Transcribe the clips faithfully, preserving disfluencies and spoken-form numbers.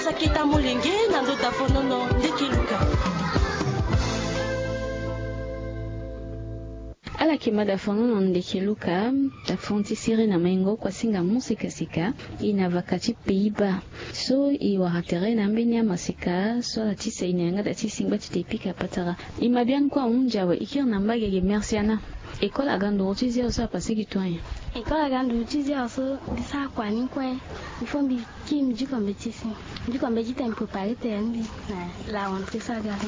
Sakita molenge na ndo dafonono ndeke luka. Ala yeke ma dafonono ndeke luka. Dafon ti sere na maingo kua singa mo sikasika. E na vaka ti Pays-Bas so e wara tere na ambeni amaseka so ala tisa e na yanga da ti singba ti te pika patara. E ma biani kue ahunzi awe e kiri na mbage ge. Merci Anna. École aga nduru ti zia so apase gi toi nyen? École aga nduru ti zia so mbi sara kua ni kue. Il faut mbi kiri mbi diko mbeti si. Mbi diko mbeti te mbi préparer tere ni na la rentrée so aga so.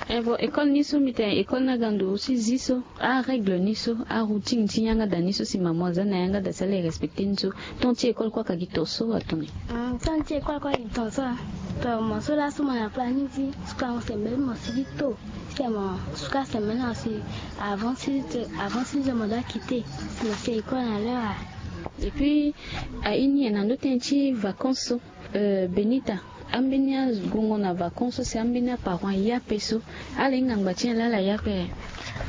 Eh bon, école ni so mbi tene école ni aga nduru ti zi so, arègle ni so, aroutine ti yanga da ni so si maman aza na yanga da si ala e respecter ni so. Temps ti école kue aka gi ton so atoni? Temps ti école kue agi ton so. To mo so laso mo na planning ti suka mo sembeli mo si gi to. Ti tene mo suka sembeli na si avant six heures, avant six heures mo doit quitter si mo si école na l'heure. Et puis aye ni e na ndo tënë ti vacances so. Euh, Benita, ambeni agungo na vacances so si ambeni aparent aya ape so, ala hinga ngba ti nyen laa ala aya ape?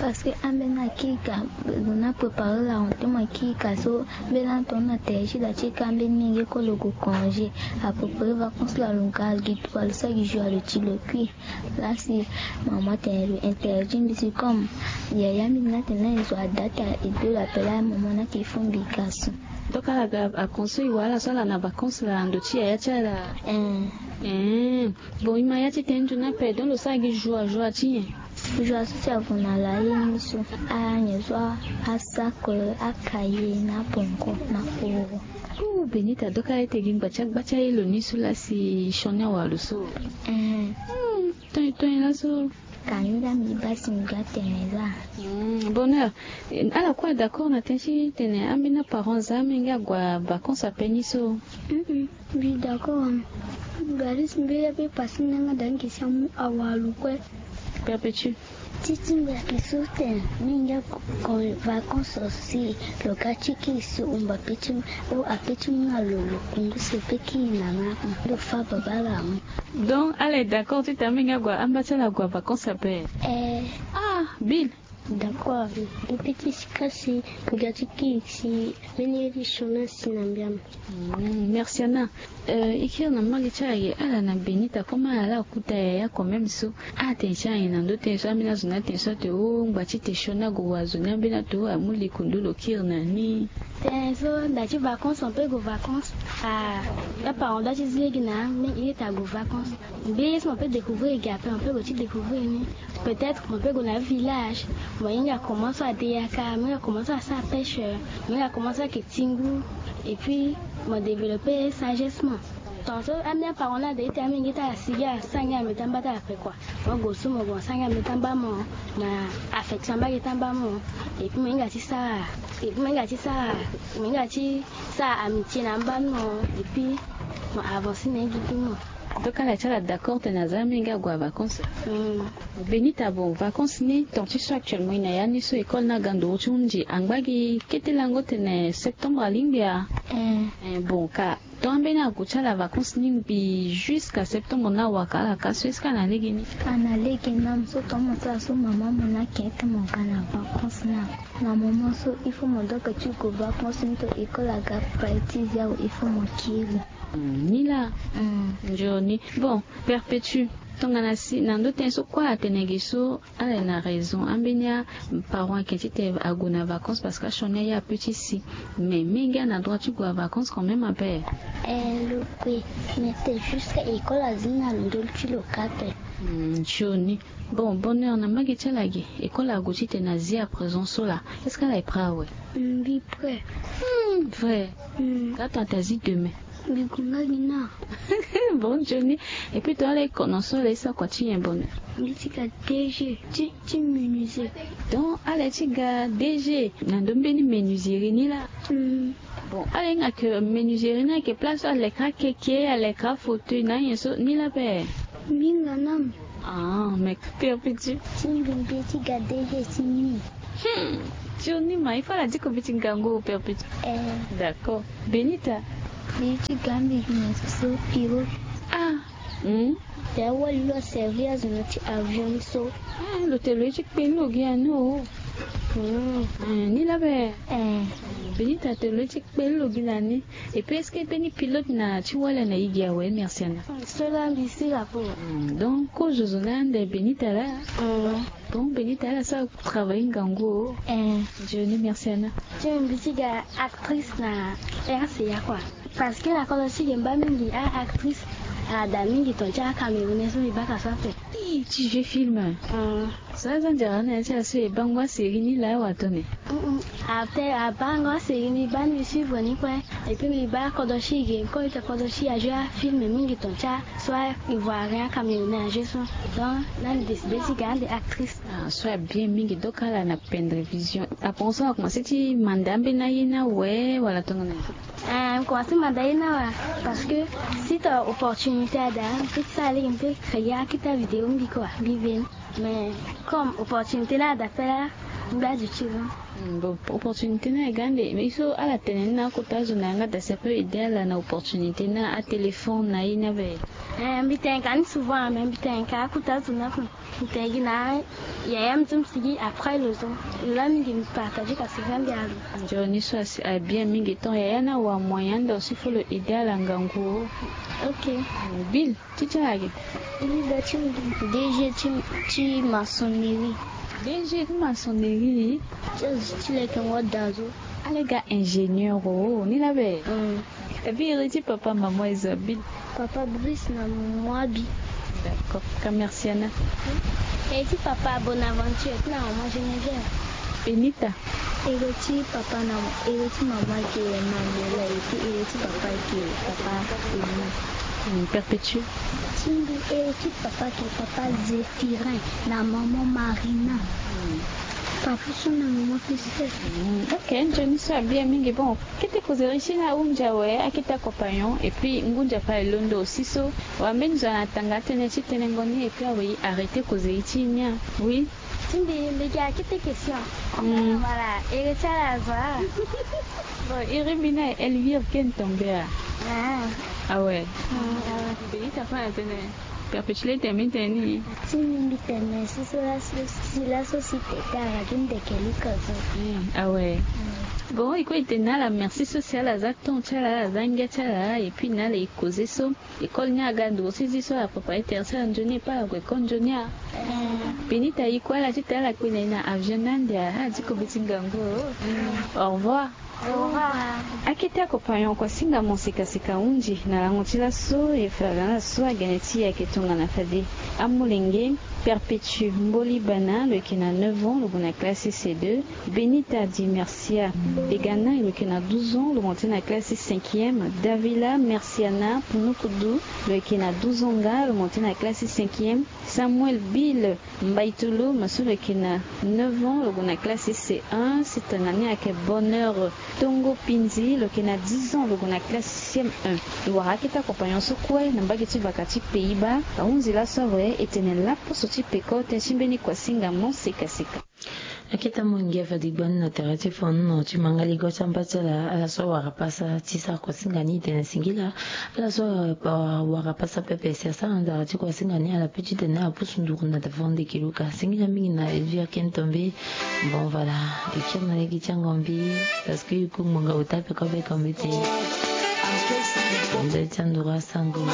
Parce que ambeni akiri ka, zo ni apréparer la rentrée mo akiri ka so. Mbeni atongana na tere ti da ti ka ambeni menge kue lo gue congé. Apréparer vacances la lo nga gi toi lo sara gi jour alo ti lo kui. Laa si maman atene lo interdit mbi si comme yaya mbi ni atene na e zo adata e do lo appel a maman ni ake e fo mbi ga so. Donc ala ga vacances so e wara ala so ala na vacances la na ndo ti yaya ti ala. Bon e ma ya ti tene nzoni ape donc lo sara gi joie joie ti nyen? Joie so si avu na ala ye ni so, anyen so, asac, acahier na bongo na koro. Oh Benita, donc ala ete gi ngba ti agba ti aye lo ni so laa si sioni awa lo so. Ton e ton e laso. Ka ni laa mbi baa si mbi ga tene laa. Bonheur, ala kue ad'accord na tënë ti tene ambeni aparent aza amenge ague avacances ape ni so? Mbi d'accord. Mbi ga lisi mbeni ape pase ni yanga da ni ke si amu awa lo kue. Perpétue. Ti ti mbi ayeke so tene menge ague vacances si lo ga ti kiri si omba pe ti o ape ti mu na lo lo kundu si e pe kiri na na lo fa babâ la mu. Donc ala e d'accord ti tene amenge ague amba ti ala ague vacances ape? Eh. Ah Bill. D'accord. Mbi pe ti sika si mbi ga ti kiri si mbeni ye ti sioni asi na mbi amu. Merci Anna. Eh, e kiri na mbage ti ala ge ala na Benita comme ala laa akuta yaya quand même so. Atene ti ala nyen na ndo tënë so ambeni azo ni atene so ate o ngba ti te sioni ague wa zo ni ambeni ato amu likundu lo kiri na ni. Tënë so nda ti vacances on peut gue vacances. Ah, aparent dua ti zi lege na mbi ye ti ague vacances. Mbi ye so mo peut découvrir ge ape mo peut gue ti découvrir ni. Peut-être mo peut gue na village. Mo hinga comment so ade yaka, mo hinga comment so asara pêche, mo hinga comment so ayeke ti ngu. Et puis mo développer sagesse mo. Ton so ambeni aparent ni ade ti tene amenge ti ala si gi ala sara ngia na mbeti amba ti ala ape kua. Mo gue so mo gue mo sara ngia na mbeti amba mo, mo affection mbage ti amba mo. Et puis mo hinga ti sara, et puis mo hinga ti sara, mo hinga ti sara amitié na amba ni mo. Et puis mo avancer na ye gi bi mo. Donc ala ti ala d'accord tene aza amenge ague avacances. Benita, bon vacances ni ton ti so actuellement e na ya ni so école ni aga nduru ti hunzi angba gi kete lango tene septembre alingbi a? Eh bon ka ton ambeni ague ti ala vacances ni ngbi jusqu'à septembre ni awaka ala ka so est-ce que ana lege ni? Ana lege na mo so ton mo sara so mama mo ni ake ti mo ga na vacances ni ako. Na moment so il faut mo doit ke ti gue vacances ni to école aga pai ti zia awe il faut mo kiri. Ni laa. Nzoni. Bon, Perpétue, tongana si na ndo tënë so kue atene ge so ala ye na raison. Ambeni aparent ayeke ti tene ague na vacances parce que asioni aye ape ti si. Mais menge ana droit ti gue na vacances quand même ape. Eh lo gue. Mais te jusqu'à école azi ni na lo ndö ti lo ka ape. Nzoni. Bon, Bonheur, na mbage ti ala ge école ague ti tene azi à présent so laa, est-ce que ala ye prêt awe? Mbi prêt. Vrai. Ka ton ate azi demain? Mbi gue nga gi na. Bon nzoni. Et puis ton ala ye kono so ala ye sara kua ti nyen Bonheur? Mbi ti ga DG ti ti menuiserie. Donc ala ye ti ga DG na ndo mbeni menuiserie ni laa. Bon ala hinga ke menuiserie ni ayeke place so alekera keke, alekera fauteuil na anyen so ni laa ape? Mbi hinga na mo. Ah mais Perpétue. Ti mbi mbi ye ti ga DG ti ni. Hmm. Ti o ni ma il faut ala diko mbi ti gango Perpétue. Eh. D'accord. Benita. Mbi ye ti ga mbi gi nyen so so piro. Ah. Hmm. Te awali lo aservi azo na ti avion ni so. Ah lo te lo ye ti kpe ni lo gi ani o. Hmm. Ni laa ape? Eh. Benita, tene lo ye ti kpeli lo gi na ni. Et puis est-ce que mbeni pilote na ti wala na e gi awe? Merci ana. So laa mbi sila kue. Donc kozo zo na ande Benita laa. Donc Benita ala sara travail ngangu o. Nzoni, merci ana. Ti mbi ti ga actrice na R C A kua. Parce que na kodro ti ge mba mingi a-actrice. Ada mingi ton ti acamerounais so mbi baka so ape. Ti jeu film. So aza nzara na ya ti aso e bango asérie ni laa watone? Ate abango asérie mbi baa ni mbi suivre ni kue. Et puis mbi baa kodro ti ge comme ita kodro ti ajeu afilm mingi ton ti aso a ivoirien acamerounais ajeu so. Donc na mbi décide ti ga ande actrice. Ah, so abien mingi. Donc ala na pendre vision. Apense akomanse ti manda ambeni aye ni awe wala tongana? Eh, mbi komanse manda ye ni awe. Parce que si ta opportunité ada mbi pe ti sara lege mbi pe créer akita vidéo mbi kua mbi veni. Mais comme opportunité ni ada pe laa mbi adu ti lo. Bon, opportunité ni aye gande mais so ala tene ni na akota zo na yanga da si ape aide ala na opportunité ni atéléphone na ye ni abe? Eh, mbi tene ka ni souvent mais mbi tene ka akota zo ni ape. Mbi tene gi na yaya mbi ti mbi sigi après lo so. Laa mingi mbi partage kasi vandi alo. Nzoni so asi abien mingi ton yaya ni awa moyen ande aussi fo lo aide ala ngangu o. Ok. Bill, ti ti ala ge? Bill da ti mbi. DG ti ti maçonnerie. DG ti maçonnerie. Ti azo ti leke ngo da zo. Ala ga ingénieur o ni laa be? Abi iri ti papa maman Isabelle. Papa Bruce na maman Abi. D'accord, ka merci ana. Iri ti papa Bonaventure ti na maman Geneviève. Benita. Iri ti papa na iri ti maman ke Manuela et puis iri ti papa ke papa Emi. Perpétue. Ti mbi iri ti papa ke papa Zéphirin na maman Marina. Papa so na maman Christelle. Ok, nzoni so abien mingi. Bon, kete kozeri ti ni ahunzi awe akete compagnon et puis ngunza pa elondo aussi so. Wa mbeni zo ana tanga tënë ti tenengo ni et puis awe arrêter kozeri ti ni a. Oui. Ti mbi mbi gi akete question. Voilà, iri ti ala zo a. Bon, iri mbi ni aye Elvire Ken Tombé a. Awe. Mbi gi ta fa na tënë. Perpétue tene mbi tene ni. Ti mbi mbi tene si so laso si tete ara gi ndeke luka zo. Awe. Bon, e kue e tene na ala merci so si ala za temps ti ala, ala za ngia ti ala et puis na ala e causer so. École ni aga nduru ti zi so ala préparer terre ti ala nzoni e pa ala gue école nzoni a. Benita e kue ala ti tene ala kpe na e na avion ni ande a, ala ti kobe ti ngangu o. Au revoir. Akete akompagnon kua singa mo sekaseka ahunzi na lango ti laso e fa ala na so agene ti e ayeke tongana fade. Amolenge Perpétue Mboli Bana lo yeke na neuf ans lo gue na classe C deux. Benita Di Mercia Begana lo yeke na douze ans lo monte na classe cinquième. Davila Merciana Punukudu lo yeke na douze ans nga lo monte na classe cinquième. Samuel Bill Mbaitulu ma so lo yeke na neuf ans lo gue na classe C un. Sitana ni ayeke Bonheur Tongo Pinzi lo yeke na dix ans lo gue na classe C M un. E wara akete akompagnon so kue na mbage ti vaka ti Pays-Bas. Ahunzi laso awe e tene laposo ti peko tënë ti mbeni kua singa mo sekaseka. Akete amolenge fade gbani na tere ti fono ti mangaligo ti amba ti ala ala so awara pasa ti sara kua singa ni e tene singila. Ala so awara pasa pepe si asara nzara ti kua singa ni ala pe ti tene apusu nduru na fo ndeke luka singila mingi na Elvire Ken Tombé. Bon voilà, e kiri na lege ti angombi parce que e ku ngbonga ota peko be kombi ti nze ti anduru asango.